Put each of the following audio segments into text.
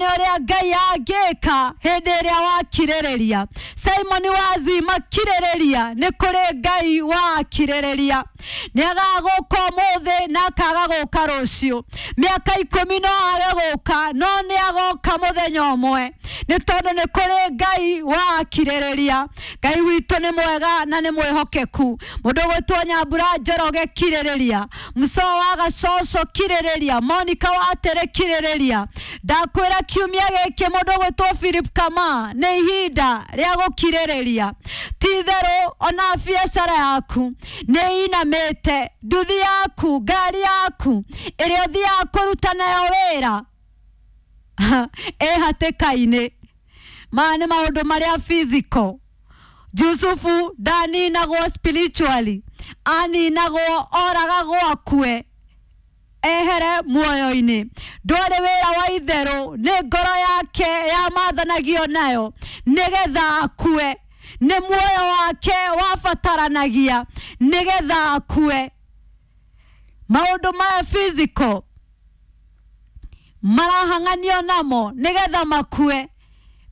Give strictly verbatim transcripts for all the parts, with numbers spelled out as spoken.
Ũrĩa Ngai angĩka hĩndĩ ĩrĩa wakirĩrĩria. Simon Wazima, kirĩrĩria, nĩ kũrĩ Ngai wakirĩrĩria. Nĩ agagũka ũmũthĩ na akaga gũka rũciũ, mĩaka ikũmi no age gũka, no nĩ agoka mũthenya ũmwe, nĩ tondũ nĩ kũrĩ Ngai wakirĩrĩria. Ngai witũ nĩ mwega na nĩ mwĩhokeku. Mũndũ gwĩtwo Nyambura Njoroge, kirĩrĩria. Muco wa Gacoco, kirĩrĩria. Monica Watere, kirĩrĩria. Ndakwĩra kiumia gĩkĩ, mũndũ gwĩtwo Philip Kama, nĩ ihinda rĩa gũkirĩrĩria. Ti itherũ ona biacara yaku nĩ inamĩte, nduthi yaku, ngari yaku ĩrĩa ũthiaga kũruta nayo wĩra ĩ hatĩka-inĩ. Maya nĩ maũndũ marĩa physical. Jusufu ndaninagwo spiritually, aninagwo, oragagwo, akue, ehere muoyo-inĩ. Ndwarĩ wĩra wa itherũ, nĩ ngoro yake yamathanagio nayo nĩgetha akue, nĩ muoyo wake wabataranagia nĩgetha akue. Maũndũ maya physical marahang'anio namo nĩgetha makue.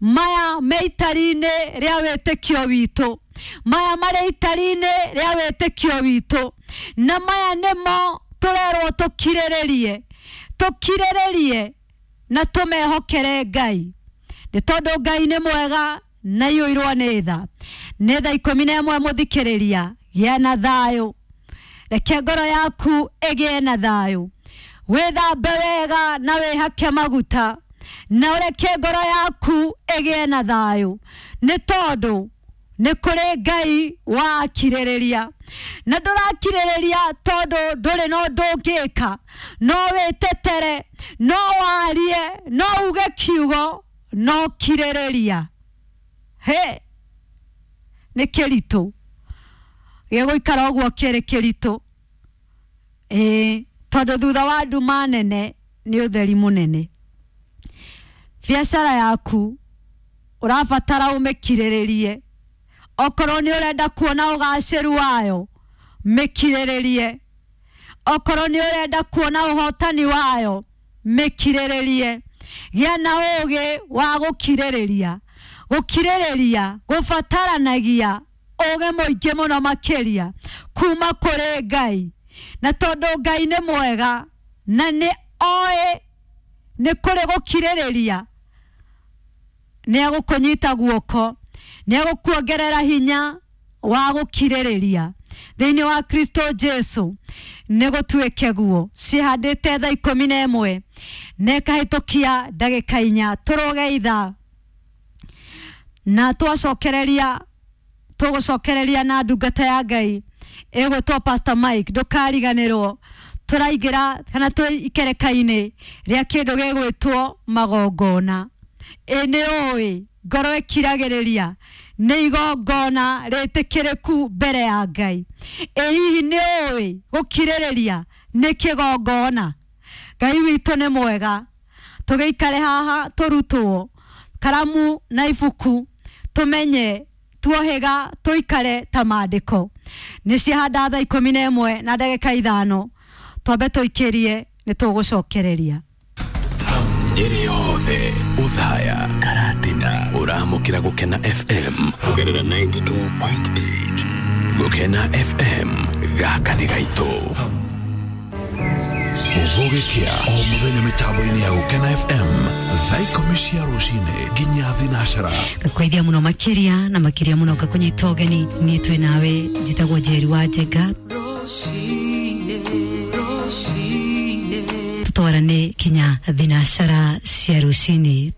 Maya me itari-inĩ rĩa wĩtĩkio witũ, maya marĩ itari-inĩ rĩa wĩtĩkio witũ, na maya nĩmo tũrerwo tũkirĩrĩrie, tũkirĩrĩrie na tũmehokere Ngai, nĩ tondũ Ngai nĩ mwega na iyũirwo nĩ tha. Nĩ thaa ikũmi na ĩmwe. Mũthikĩrĩria, gĩa na thayũ, reke ngoro yaku ĩgĩe na thayũ, wĩthambe wega na wĩhake maguta na ũreke ngoro yaku ĩgĩe na thayũ, nĩ tondũ nĩ kũrĩ Ngai wakirĩrĩria. Na ndũrakirĩrĩria tondũ ndũrĩ na ũndũ ũngĩka, no wĩtetere, no warie, no uge kiugo, no kirĩrĩria he nĩ kĩritũ, gĩgũikara ũguo kĩrĩ kĩritũ, ĩĩ, tondũ thutha wa nduma nene nĩ ũtheri mũnene. Biacara yaku ũrabatara ũmĩkirĩrĩrie. Okorwo nĩ ũrenda kuona ũgacĩru wayo, mĩkirĩrĩrie. Okorwo nĩ ũrenda kuona ũhotani wayo, mĩkirĩrĩrie. Gĩa na ũgĩ wa gũkirĩrĩria. Gũkirĩrĩria gũbataranagia ũgĩ mũingĩ mũno makĩria kuma kũrĩ Ngai, na tondũ Ngai nĩ mwega na nĩ oĩ nĩ kũrĩ gũkirĩrĩria, nĩ egũkũnyita guoko, nĩ egũkuongerera hinya wa gũkirĩrĩria thĩinĩ wa Kristo Jesu. Nĩ gũtuĩke guo. Cihandĩte thaa ikũmi na ĩmwe na ĩkahĩtũkia ndagĩka inya. Tũrũge ithaa na twacokereria, tũgũcokereria na ndungata ya Ngai ĩgwĩtwo Pastor Mike. Ndũkariganĩrwo tũraingĩra kana twĩ ikereka-inĩ rĩa kĩndũ gĩgwĩtwo magongona. Ĩ nĩ ũĩ ngoro ĩkiragĩrĩria nĩ igongona rĩtĩkĩrĩku mbere ya Ngai? Ĩ hihi nĩ ũĩ gũkirĩrĩria nĩ kĩgongona? Ngai witũ nĩ mwega. Tũgĩikare haha, tũrutwo karamu na ibuku, tũmenye tuohĩga, tũikare ta maandĩko. Nĩ ciahanda thaa ikũmi na ĩmwe na ndagĩka ithano. Twambe tũikĩrie, nĩ tũgũcokereria. Nyeri yothe, Uthaya, Karatina, ũramũkĩra Gũkena F M kũgerera mĩrongo kenda na igĩrĩ turuma inyanya. Gũkena F M, gaka nĩ gaitũ. Gũgĩkĩa o mũthenya mĩtambo-inĩ ya Gũkena F M, thaa ikũmi cia rũcinĩ nginya thinacara. Ngakwaithia mũno makĩria na makĩria mũno, ngakũnyita ũgeni. Niĩ twĩ nawe, njĩtagwo Njeri wa Njenga. Tũtwarane kinya thinacara cia rũcinĩ.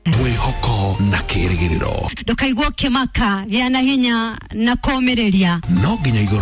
Mwĩhoko na kĩrĩgĩrĩro. Ndũkaigua ũkĩmaka, gĩa na hinya na kũũmĩrĩria. No nginya igũrũ.